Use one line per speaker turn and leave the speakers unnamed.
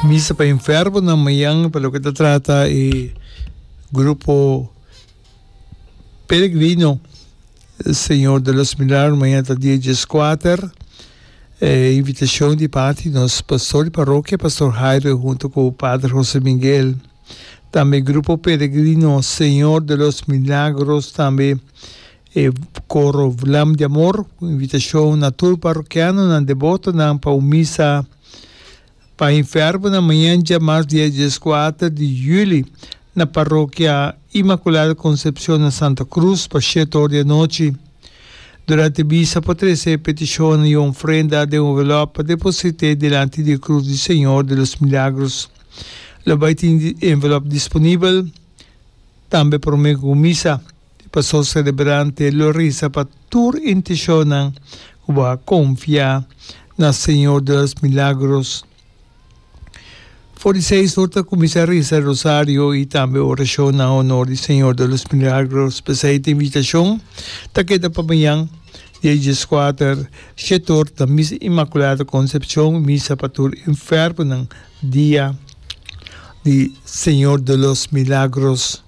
Misa pa enfermonan mañan pa loke ta trata e grupo peregrino Señor de los Milagros mañan ta dia dieskuater. E invitacion di parti nos pastor di parokia Pastor Jairo hunto cu Pader Jose Miguel. Tambe grupo peregrino Señor de los Milagros tambe e coro Vlam di Amor cu invitacion na tur parokianonan debotonan pa un misa pa enfermonan mañan djamars dia dieskuater di juli na Parokia Inmaculada Concepcion na Santa Cruz pa shete or di anochi. Durante misa por trece e peticionnan y ofrenda den un envelop pa deposite dilanti di e Cruz di Señor de los Milagros. Lo bay tin envelop disponibel tambe prome cu misa. E pastor celebrante lo reza pa tur intencionnan cu bo a confia na Señor de los Milagros. For di seis or ta cuminsa reza rosario y tambe oracion na honor di Señor de los Milagros. P'esey ta invitacion ta keda pa mañan dia dieskuater shete or ta Misa Inmaculada Concepcion, misa pa tur enfermonan dia di Señor de los Milagros.